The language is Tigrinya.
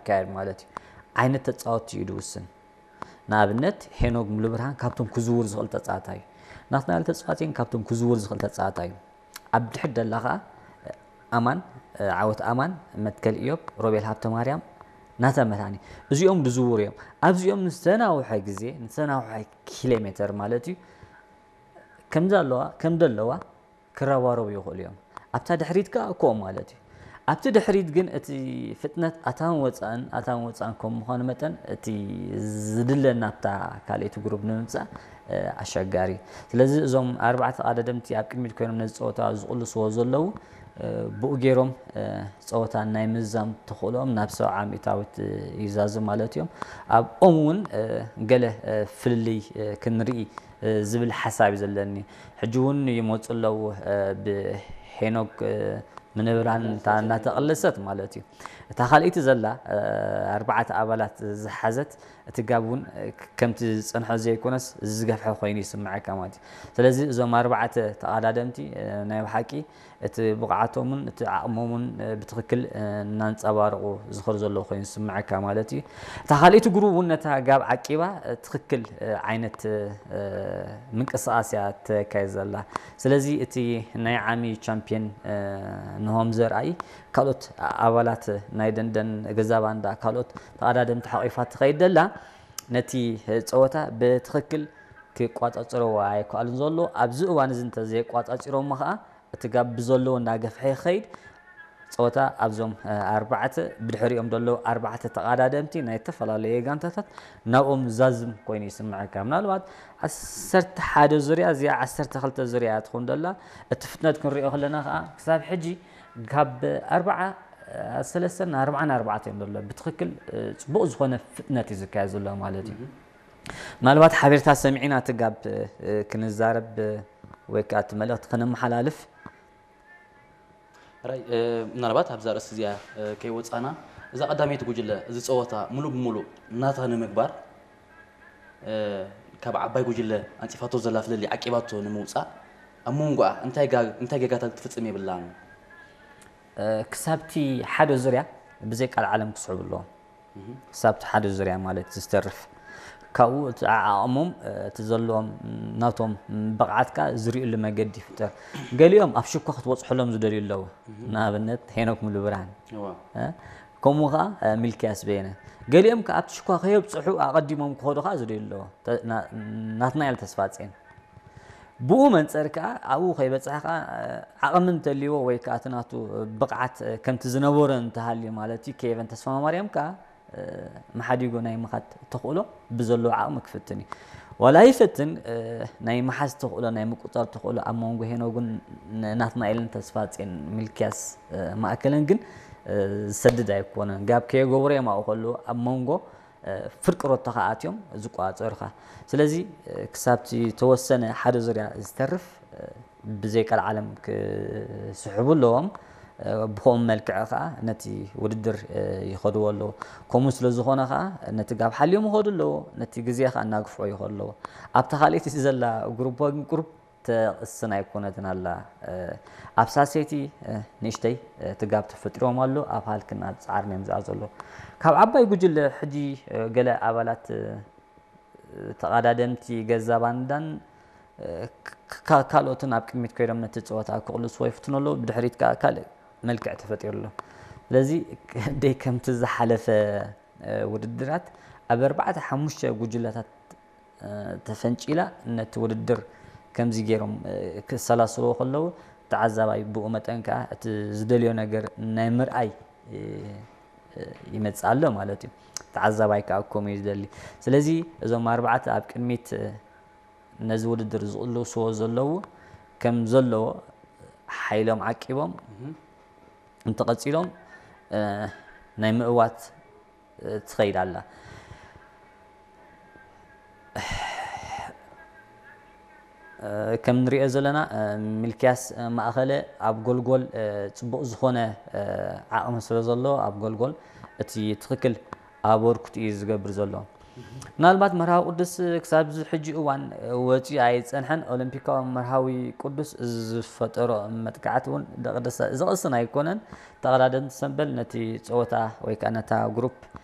ይካየድ ማለት እዩ። ዓይነት ተጻወትቲ እዩ ዝውስን። ንኣብነት ሄኖክ ሙሉብርሃን ካብቶም ክዝውር ዝኽእል ተጻዋታይ እዩ። ናትናኤል ተስፋጽዮን ካብቶም ክዝውር ዝኽእል ተጻዋታይ እዩ። ኣብ ድሕሪት ደላ ኸኣ ኣማን፣ ዓወት ኣማን፣ መትከል ኢዮብ፣ ሮቤል ሃብተማርያም፣ ናተ መድሃኒ፣ እዚኦም ዝዝውሩ እዮም። ኣብዚኦም ንዝተናውሐ ግዜ፣ ንዝተናውሐ ኪሎ ሜተር ማለት እዩ፣ ከም ዘለዋ ከም ዘለዋ ክረባረቡ ይኽእሉ እዮም። ኣብታ ድሕሪት ከኣ ከምኡ ማለት እዩ። ኣብቲ ድሕሪት ግን እቲ ፍጥነት ኣታውን ወጻእን ኣታውን ወጻእን ከም ምዃኑ መጠን እቲ ዝድለ ናብታ ካልኣይቲ ግሩፕ ንምምጻእ ኣሸጋሪ። ስለዚ እዞም ኣርባዕተ ተቓዳደምቲ ኣብ ቅድሚት ኮይኖም ነዚ ጸወታ ዝቕልስዎ ዘለዉ ብኡ ገይሮም ጸወታ ናይ ምዝዛም ተኽእሎኦም ናብ ሰብዓ ሚእታዊት እዩ ዛዝም ማለት እዮም። ኣብኦም እውን ገለ ፍልልይ ክንርኢ ዝብል ሓሳብ እዩ ዘለኒ። ሕጂ እውን ይመፁ ኣለዉ ብሄኖክ ምንብራን እናተቐለሰት ማለት እዩ። እታ ካልኣይቲ ዘላ ኣርባዕተ ኣባላት ዝሓዘት እቲ ጋብ እውን ከምቲ ዝፀንሖ ዘይኮነስ ዝገፍሐ ኮይኑ ይስምዐካ ማለት እዩ። ስለዚ እዞም ኣርባዕተ ተቓዳደምቲ ናይ ብሓቂ እቲ ብቕዓቶምን እቲ ዓቕሞምን ብትኽክል እናንፀባረቑ ዝኸዱ ዘለዉ ኮይኑ ዝስምዐካ ማለት እዩ። እታ ካልኣይቲ ግሩብ እውን ነታ ጋብ ዓቂባ ትኽክል ዓይነት ምንቅስቓስ እያ ተካይድ ዘላ። ስለዚ እቲ ናይ ዓሚ ቻምፒዮን ንሆም ዘርኣይ ካልኦት ኣባላት ናይ ደንደን ገዛ ባንዳ ካልኦት ተቐዳደምቲ ሓቂፋ ትኸይድ ደላ ነቲ ፀወታ ብትኽክል ክቋፃፅረዎ ኣይከኣሉን ዘሎ ኣብዚ እዋን እዚ እንተዘየቋፃፂሮሞ ከዓ እቲ ጋብ ብዘለዎ እናገፍሐ ይኸይድ። ጸወታ ኣብዞም ኣርባዕተ ብድሕሪኦም ዘለዉ ኣርባዕተ ተቓዳደምቲ ናይ ዝተፈላለዩ ጋንታታት ናብኦም ዛዝም ኮይኑ ይስምዐካ። ምናልባት ዓሰርተ ሓደ ዙርያ እዚኣ ዓሰርተ ክልተ ዙርያ እያ ትኸውን ዘላ። እቲ ፍጥነት ክንሪኦ ከለና ከዓ ክሳብ ሕጂ ካብ ኣርብዓ ሰለስተን ኣርብዓን ኣርባዕተ እዮም ዘሎ። ብትኽክል ጽቡቕ ዝኾነ ፍጥነት እዩ ዝካየድ ዘሎ ማለት እዩ። ምናልባት ሓቢርካ ሰሚዕና እቲ ጋብ ክንዛረብ ወይ ከዓ እቲ መልእኽቲ ከነመሓላልፍ ራይ ምናልባት ኣብዛ ርእሲ እዚኣ ከይወፃና እዛ ቀዳመይቲ ጉጅለ እዚ ፀወታ ሙሉእ ብሙሉእ ናታ ንምግባር ካብ ዓባይ ጉጅለ ኣንፂፋቶ ዘላ ፍልልይ ዓቂባቶ ንምውፃእ ኣብ መንጎኣ እንታይ ጌጋታት ክትፍፅም የብላን። ክሳብቲ ሓደ ዙርያ ብዘይ ቃል ዓለም ክስሕቡ ኣለዎም። ክሳብ እቲ ሓደ ዙርያ ማለት ዝተርፍ ካብኡ እቲ ዓዓቕሞም እቲ ዘለዎም ናቶም ብቕዓትካ ዝርእሉ መገዲ ይፍጠር። ገሊኦም ኣብ ሽኳ ክትበፅሐሎም ዝደልዩ ኣለዉ። ንኣብነት ሄኖክ ሙሉብርሃን ከምኡ ከዓ ሚልክያስ በየነ። ገሊኦም ከዓ ኣብቲ ሽኳ ከየብፅሑ ኣቐዲሞም ክኸዱ ከዓ ዝደልዩ ኣለዉ። ናትናኤል ተስፋፅዮን ብኡ መንፀር ከዓ ኣብኡ ከይበፅሐ ከዓ ዓቕሚ እንተልይዎ ወይ ከዓ እቲ ናቱ ብቕዓት ከምቲ ዝነበሮ እንተሃልዩ ማለት እዩ ኬቨን ተስፋማርያም ከዓ መሓዲጉ ናይ ምኻድ ተኽእሎ ብዘለዎ ዓቕሚ ክፍትን እዩ። ዋላ ይፈትን ናይ ምሓዝ ተኽእሎ ናይ ምቁፃር ተኽእሎ ኣብ መንጎ ሄኖግን ናትናኤልን ተስፋፅዮን ሚልክያስ ማእከለን ግን ዝሰድድ ኣይኮነን። ጋብ ከየገብሩ እዮም ኣብኡ ከለዉ ኣብ መንጎ ፍርቂ ሮቶኻ ኣትዮም ዝቆፃፀሩኻ። ስለዚ ክሳብቲ ተወሰነ ሓደ ዙርያ ዝተርፍ ብዘይ ቀልዓለም ክስሕቡ ኣለዎም። ብኸም መልክዕ ከዓ ነቲ ውድድር ይኸድዎ ኣለዉ። ከምኡ ስለ ዝኾነ ከዓ ነቲ ጋብ ሓልዮም ይኸዱ ኣለዉ። ነቲ ግዜ ከዓ እናግፍዖ ይኸዱ ኣለዉ። ኣብታ ካልኣይቲ ዘላ ግሩፕ ወይም ግሩፕ ተቕስን ኣይኮነትን ኣላ። ኣብ ሳሴቲ ንእሽተይ እቲ ጋብ ተፈጢሮም ኣሎ። ኣብ ሃልክን ኣብ ፃዕርን እዮም ዝኣ ዘሎ። ካብ ዓባይ ጉጅለ ሕጂ ገለ ኣባላት ተቐዳደምቲ ገዛ ባንዳን ካልኦትን ኣብ ቅድሚት ኮይዶም ነቲ ፀወታ ክቕልስዎ ይፍትኑ ኣለዉ። ብድሕሪት ከዓ ካልእ መልክዕ ተፈጢሩ ኣሎ። ስለዚ ደይ ከምቲ ዝሓለፈ ውድድራት ኣብ ኣርባዕተ ሓሙሽተ ጉጅለታት ተፈንጪላ ነቲ ውድድር ከምዚ ገይሮም ክሰላስልዎ ከለዉ ተዓዛባይ ብኡ መጠን ከዓ እቲ ዝደልዮ ነገር ናይ ምርኣይ ይመፅእ ኣሎ ማለት እዩ። ተዓዛባይ ከዓ ከምኡ እዩ ዝደሊ። ስለዚ እዞም ኣርባዕተ ኣብ ቅድሚት ነዚ ውድድር ዝቕልስዎ ዘለዉ ከም ዘለዎ ሓይሎም ዓቂቦም እንተቐፂሎም ናይ ምእዋት ትኸይድ ኣላ። ከም ንሪኦ ዘለና ሚልክያስ ማእኸለ ኣብ ጎልጎል ፅቡቕ ዝኾነ ዓቕሚ ስለ ዘሎ ኣብ ጎልጎል እቲ ትኽክል ኣበርክቱ እዩ ዝገብር ዘሎ። ምናልባት መርሃዊ ቅዱስ ክሳብ እዚ ሕጂ እዋን ወፂኡ ኣይፀንሐን። ኦሎምፒካዊ መርሃዊ ቅዱስ ዝፈጠሮ መጥቃዕቲ እውን ዘቕስን ኣይኮነን። ተቐዳደምቲ ሰምበል ነቲ ፀወታ ወይ ከዓ ነታ ግሩፕ